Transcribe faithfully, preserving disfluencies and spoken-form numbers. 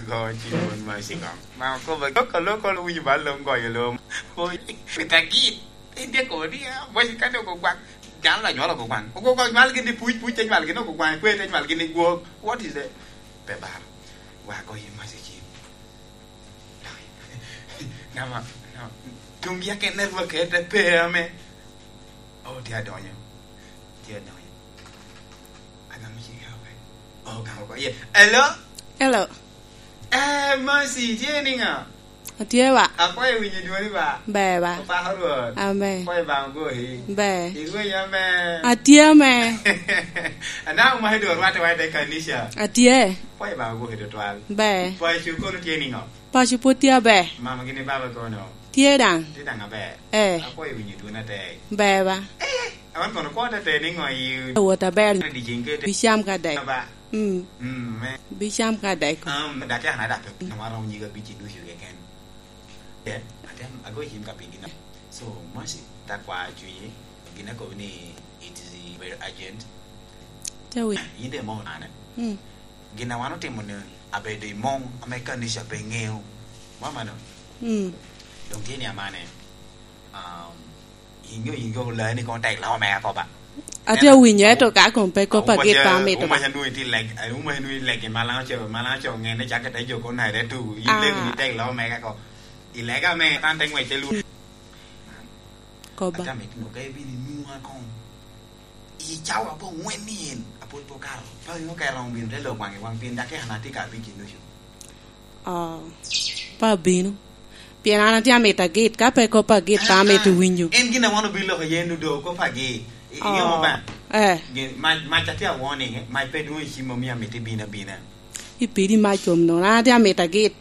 Go ci mon ma sigo. Ma okobo loko loko lo winyo ba lom goyo lom. Oi, pita git. Inde ko ni, ah, boy kane ogo gwang. Dano la nywalo ogo gwang. Ogo gwang mal gini puc, puc te nywal gini ogo gwang, kwe te nywal gini gwok. What is that? Pe bar. Wa go yi ma sikin. Nama, nama. Tung ya ken network ete pe ame. Oh, tye adonyo. Tye adonyo. Agamo cing ya, okay. Oh, gamo ko. Yeah. Hello? Hello. Eh, Mercy, tye niŋa? Atye ba. Akwayo winyo dwoni ba. Ber ba. Opako Rwot. Amen. Kwayo ba ogoyi. Ber. Irwenyo amen. Atye amen. Anaka omaki dwon rwatte wa i te kanisha. Atye. Kwayo ba ogoyi tutwal. Ber. Paco kono tye niŋo? Paco pwod tye aber. Mama gini baba kono? Tye daŋ. Tye daŋ aber. Eh. Akwayo winyo dwoni atek. Ber ba. Eh, awan kono kwo te te niŋo i Awot aber. Dicing kete. Bicam ka dek. Ba. Mm. Mm, me. Bicam ka dek. Um, daki an ada pe. Nwa romo nyiga bici ducu keken. Eh, atem ago cim ka pigi na. So, Mercy, ta kwa cunyi, gin akobo ni it is very urgent. Te wi. Yin de mo nane. Mm. Gin a wan otimo ni abedo i mong ame kanica pe ŋeo. Mama no. Mm. Dong tye ni amane. Um, Inyo, inyo, lani kono tek lamo me akoba. Ate awinyo, ento ka kom pe kop agit pa amito ba. Umaca nwoŋo iti leg, umaca nwoŋo ilegi malaŋ co, malaŋ co ŋene cak te jo kono nare tu. Ah. Ilego ni tek lamo me kako. Ilega me tan te ŋwec te lu. Koba. Ata me tino ka ibin inwoŋa koŋ. I cawa aboŋwen ni en, apwod pe okato. Pa ŋeo ka eromo bino te lok waŋ i waŋ pien daki an atye ka abic i nucu. Oh, pe abino. Pien an atye amito agit, ka pe kop agit, pe amito winyo. En gin a wan obino loko iye nu do kop agit. I-, iŋeo ba? Eh. Gin, mac, mac atye a warning, eh? Mac pe dwoŋ i cim omio amito ibino abina. Ipidi mac kom nono, an atye amito agit.